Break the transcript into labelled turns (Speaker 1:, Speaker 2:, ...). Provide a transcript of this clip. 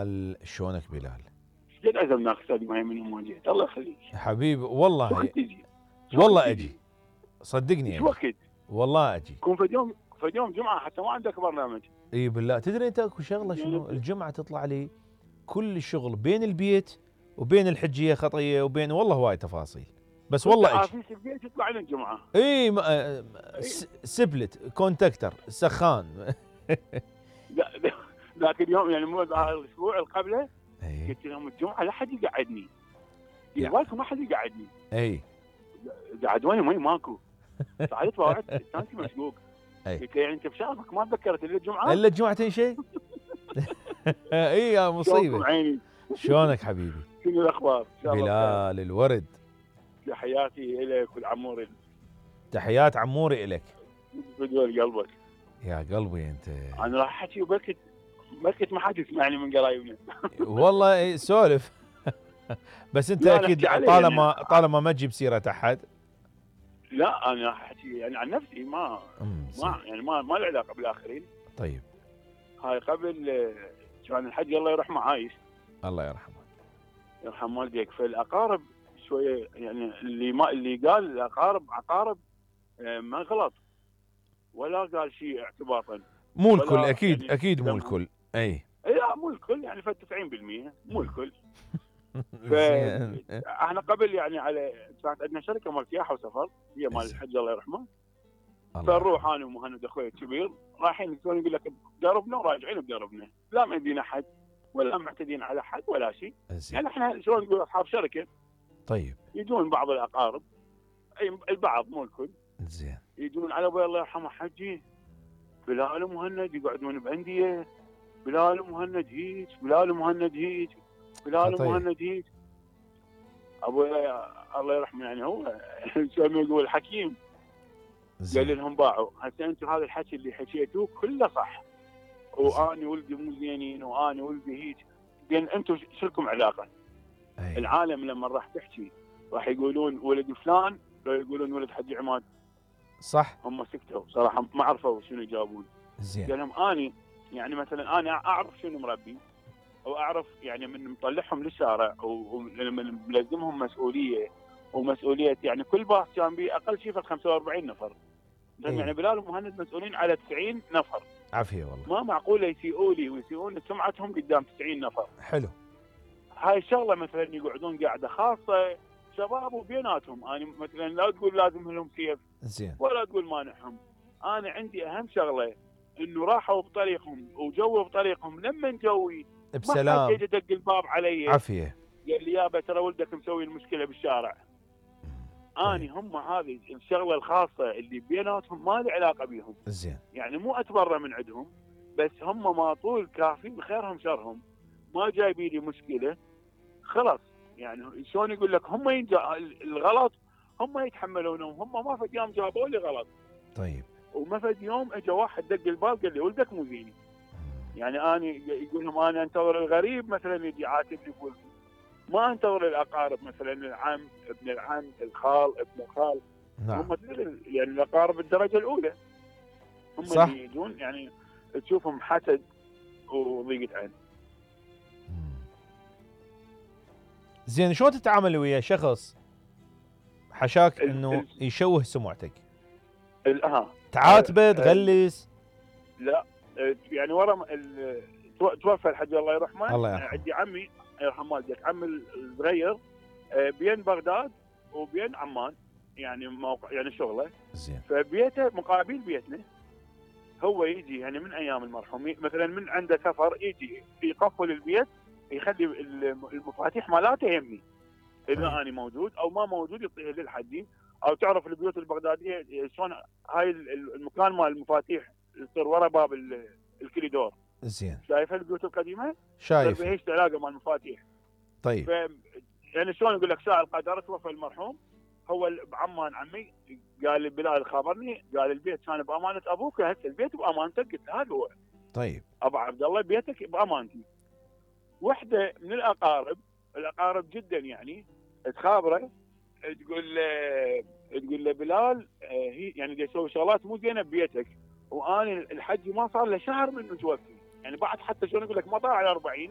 Speaker 1: بلال، شلونك بلال؟
Speaker 2: قد عزمناك استاذ ما من يوم جيت. الله يخليك
Speaker 1: حبيبي والله
Speaker 2: تجي؟
Speaker 1: والله اجي، صدقني
Speaker 2: ايش
Speaker 1: اجي
Speaker 2: وقت؟
Speaker 1: والله اجي.
Speaker 2: كون في يوم جمعه حتى ما عندك برنامج.
Speaker 1: اي بالله. تدري انت اكو شغله شنو؟ الجمعه تطلع لي كل الشغل بين البيت وبين الحجيه خطيه وبين والله هواي تفاصيل، بس والله اجي.
Speaker 2: عافيس البيت يطلع لنا الجمعه.
Speaker 1: اي سبلت كونتاكتر سخان.
Speaker 2: ذاك اليوم يعني مو الاسبوع اللي قبله قلت لهم الجمعه لا حد يقعدني. بالكم ما حد يقعدني.
Speaker 1: اي
Speaker 2: قعدوني ماكو. صعدت وقعدت التانكي مشقوق. قلت له يعني انت بشغلك ما تذكرت الا الجمعه؟
Speaker 1: الا الجمعتين شيء؟ اي يا مصيبه.
Speaker 2: عيني.
Speaker 1: شلونك حبيبي؟
Speaker 2: شنو الاخبار؟
Speaker 1: بلال الورد.
Speaker 2: تحياتي الك والعموري.
Speaker 1: تحيات عموري الك.
Speaker 2: بدول قلبك.
Speaker 1: يا قلبي انت.
Speaker 2: انا راح احكي وبركت ما حد يسمعني من قرايبنا.
Speaker 1: والله سولف. بس انت اكيد طالما ما تجيب سيره احد.
Speaker 2: لا انا راح احكي يعني عن نفسي ما يعني ما له علاقه بالاخرين.
Speaker 1: طيب.
Speaker 2: هاي قبل كان الحج الله يرحمه عايش.
Speaker 1: الله يرحمه.
Speaker 2: يرحم والديك. فالاقارب شويه يعني اللي قال الاقارب عقارب ما غلط ولا قال شيء اعتباطا.
Speaker 1: مو الكل اكيد يعني اكيد مو الكل. اي
Speaker 2: لا مو الكل يعني 90% مو الكل. فاحنا قبل يعني على كانت عندنا شركه مال سياحه وسفر هي مال الحج الله يرحمه. فنروح انا ومهند اخوي الكبير رايحين يقول لك بدربنا وراجعين بدربنا، لا مدينا حد ولا معتدين على حد ولا شيء. يعني احنا شلون نقول اصحاب شركه.
Speaker 1: طيب.
Speaker 2: يجون بعض الاقارب اي البعض مو الكل.
Speaker 1: زين.
Speaker 2: يجون على ابوي الله يرحمه حجي بلال ومهند يقعدون بانديه. بلال ومهند هيك، بلال ومهند هيك، بلال ومهند هيك. ابوي الله يرحمه يعني هو شلون يقول حكيم. قال لهم باعوا هسه انتم هذا الحكي اللي حكيتوه كله صح واني ولدي مو زينين واني ولدي هيك. بين انتم شو لكم علاقه؟ العالم لما راح تحكي راح يقولون ولد فلان لو يقولون ولد حجي عماد.
Speaker 1: صح.
Speaker 2: هم سكتوا صراحه ما عرفوا شنو يجاوبون.
Speaker 1: زين.
Speaker 2: قال لهم اني يعني مثلا انا اعرف شنو مربي او اعرف يعني من مطلعهم للشارع ومن ملزمهم مسؤوليه ومسؤوليه يعني كل باص كان به اقل شيء 45 نفر. يعني بلال ومهند مسؤولين على 90 نفر.
Speaker 1: عافيه والله.
Speaker 2: ما معقوله يسيئوا لي ويسيئون سمعتهم قدام 90 نفر.
Speaker 1: حلو.
Speaker 2: هاي الشغله مثلا يقعدون قاعده خاصه شباب وبيناتهم. انا مثلا لا تقول لازم لهم سيف.
Speaker 1: زين.
Speaker 2: ولا تقول مانعهم. انا عندي اهم شغله انه راحوا بطريقهم وجووا بطريقهم. لما جوي
Speaker 1: بسلام
Speaker 2: ما حد يجي يدق الباب علي
Speaker 1: عافيه
Speaker 2: قال لي يابا ترى ولدك مسوي المشكله بالشارع. اني هم هذه الشغله الخاصه اللي بيناتهم ما لي علاقه بيهم.
Speaker 1: زين.
Speaker 2: يعني مو اتبرى من عندهم بس هم ما طول كافيين خيرهم شرهم. ما جايبين لي مشكله خلاص. يعني شلون يقول لك هم الغلط هم يتحملونه وهم ما فد يوم جابوا لي غلط.
Speaker 1: طيب.
Speaker 2: وما فد يوم اجى واحد دق الباب قال لي ولدك مو زيني. يعني انا يقول لهم انا انتظر الغريب مثلا يجي يعاتبني بولدي. ما انتظر الاقارب مثلا العم ابن العم الخال ابن الخال.
Speaker 1: نعم.
Speaker 2: هم يعني الاقارب الدرجه الاولى. هم
Speaker 1: صح.
Speaker 2: اللي يجون يعني تشوفهم حسد وضيقه عين.
Speaker 1: زين شلون تتعامل ويا شخص حشاك انه يشوه سمعتك؟ تعاتبه تغلس؟
Speaker 2: لا يعني ورا توفى الحج الله يرحمه.
Speaker 1: الله يرحمه.
Speaker 2: عندي عمي يرحم والديك عمي الصغير بين بغداد وبين عمان يعني موقع يعني شغله.
Speaker 1: زين.
Speaker 2: فبيته مقابل بيتنا. هو يجي يعني من ايام المرحوم مثلا من عنده سفر يجي يقفل البيت يخلي المفاتيح مالاته يمي. اذا انا موجود او ما موجود يعطيها للحجي. او تعرف البيوت البغداديه شلون هاي المكان مال المفاتيح يصير ورا باب الكريدور.
Speaker 1: زين.
Speaker 2: شايف البيوت القديمه؟
Speaker 1: شايف.
Speaker 2: هيش علاقه مال المفاتيح.
Speaker 1: طيب.
Speaker 2: يعني شلون يقول لك ساعه القدر توفى المرحوم. هو بعمان عمي قال لي بلال خابرني قال البيت كان بامانه ابوك هسه البيت بامانتك. قلت له هذا هو.
Speaker 1: طيب.
Speaker 2: ابو عبد الله بيتك بامانتي. وحده من الاقارب جدا يعني تخابره تقول له بلال هي يعني يسوي شغلات مو زينه ببيتك. وانا الحج ما صار له شهر من توفي. يعني بعد حتى شلون يقول لك ما طلع على 40